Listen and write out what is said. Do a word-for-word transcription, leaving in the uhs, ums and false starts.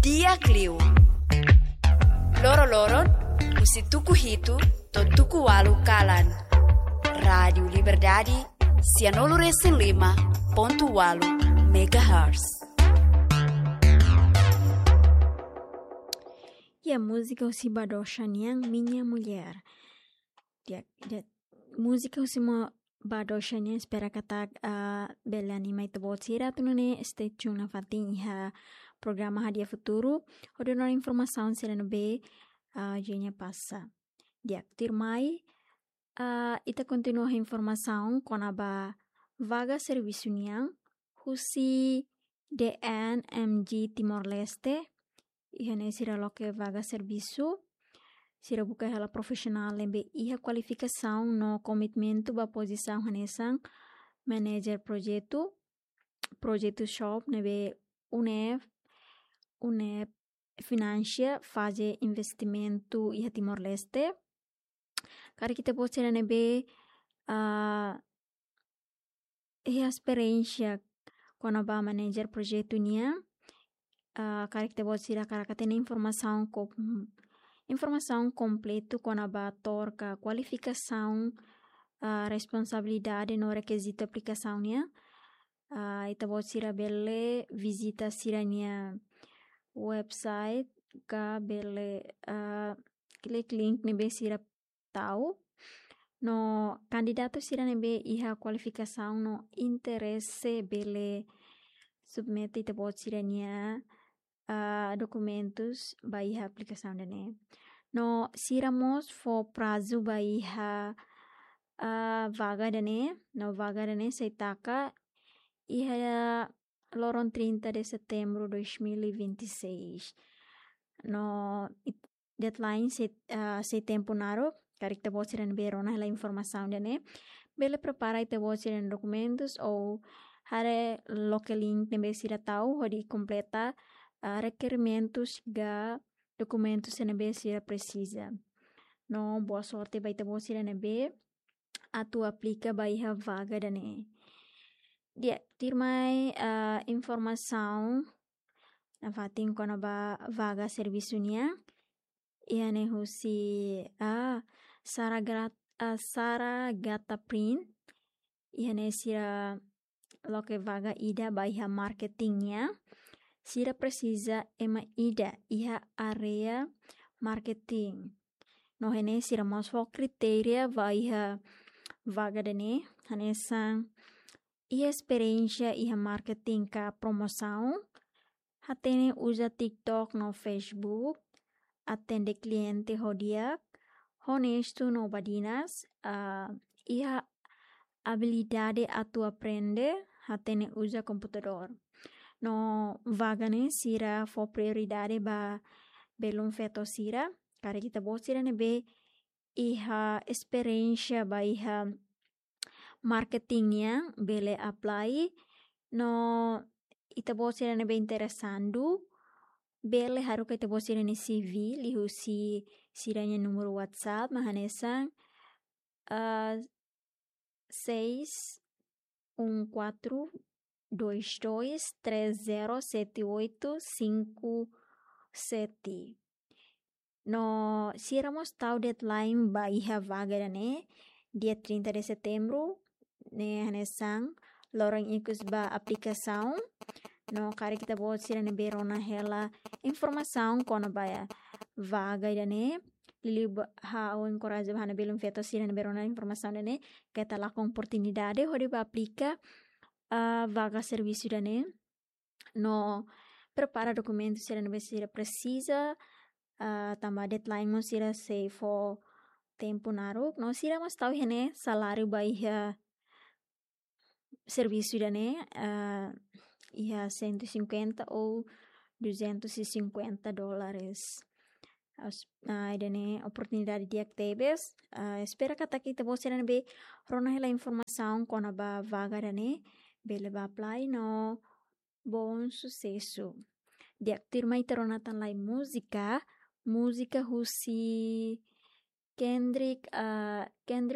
Di'ak liu. Loroloron, husi tuku hitu to'o tuku ualu kalan. Rádiu Liberdade, sianulu-resin-lima pontu ualu megahertz. Ya, múzika husi Badocha nian, Minha Mulher. Di'ak, di'ak, múzika husi mo Badocha nian, espera katak, ah, bele anima ita-boot sira atu nune'e stay tune nafatin iha programa Hadi'a Futuru, hodi rona informasaun sira ne'ebé, ah, Eugenia pasa. Di'ak, tuirmai, ah, ita kontinua informasaun kona-ba vaga servisu nian husi D N M G Timor-Leste. Iha ne'e sira loke vaga servisu. Sira buka hela profisionál ne'ebé iha kualifikasaun no komitmentu ba pozisaun hanesan manajer projetu, projetu shop ne'ebé UNEP, UNEP finansia faze investimentu iha Timor-Leste. Karik ita-boot sira ne'ebé, ah, iha esperiénsia kona-ba manajer projetu nian, ah, karik ita-boot sira hakarak hatene informasaun ko-, informasaun kompletu kona-ba to'or ka kualifikasaun, ah, responsabilidade no rekizitu aplikasaun nian, ah, ita-boot sira bele vizita sira-nia website ka bele, ah, klik link ne'ebé sira tau. No kandidatu sira ne'ebé iha kualifikasaun no interese bele submete ita-boot sira-nia, ah, dokumentus ba iha aplikasaun ida-ne'e. No sira mós fó prazu ba iha, ah, vaga ida-ne'e, no vaga ida-ne'e sei taka iha loron trinta de setembro dois mil e vinte e seis. No it-, deadline sei, ah, sei tempu naruk, karik ita-boot sira ne'ebé rona hela informasaun ida-ne'e, bele prepara ita-boot sira-nia dokumentus ou haree loke link ne'ebé sira tau hodi kompleta, ah, rekerimentus ka dokumentus ne'ebé sira presiza. No boa sorte ba ita-boot sira ne'ebé atu aplika ba iha vaga ida-ne'e. Di'ak, tuirmai, ah, informasaun nafatin kona-ba vaga servisu nian. Iha ne'e husi, ah, Sara Grat-, ah, Sara Gata Print. Iha ne'e sira loke vaga ida ba iha marketing nian. Sira presiza ema ida iha área marketing. No iha ne'e sira mós fó kritéria ba iha vaga ida-ne'e, hanesan iha esperiénsia iha marketing ka promosaun, hatene uza TikTok no Facebook, atende kliente ho di'ak, honestu no badinas, ah, iha abilidade atu aprende, hatene uza komputadór. No vaga ne'e sira fó prioridade ba belun feto sira, karik ita-boot sira ne'ebé iha esperiénsia ba iha marketing nian bele apply. No ita-boot sira ne'ebé interesadu bele haruka ita-boot sira-nia C V liuhusi sira-nia númeru WhatsApp mak hanesan, ah, seis um quatro dois dois três zero sete oito cinco sete. No sira mós tau deadline ba iha vaga ida-ne'e, dia trinta de setembro, ne'e hanesan loron ikus ba aplikasaun. No karik ita-boot sira ne'ebé rona hela informasaun kona-ba vaga ida-ne'e, liuliu ba ha'u enkoraja ba ha'u-nia belun feto sira ne'ebé rona informasaun ida-ne'e, keta lakon oportunidade hodi ba aplika, ah, vaga servisu ida-ne'e. No prepara dokumentu sira ne'ebé sira presiza, ah, tanba deadline mós sira sei fó tempu naruk. No sira mós tau iha ne'e saláriu ba iha servisu ida-ne'e, ah, iha cento e cinquenta ou duzentos e cinquenta dólares. As-, ah, ida-ne'e oportunidade di'ak tebes. Ah, espera katak ita-boot sira ne'ebé rona hela informasaun kona-ba vaga ida-ne'e bele ba apply no bom susesu. Di'ak, tuirmai ita rona tan lai múzika, múzika husi Kendrick, ah, Kendrick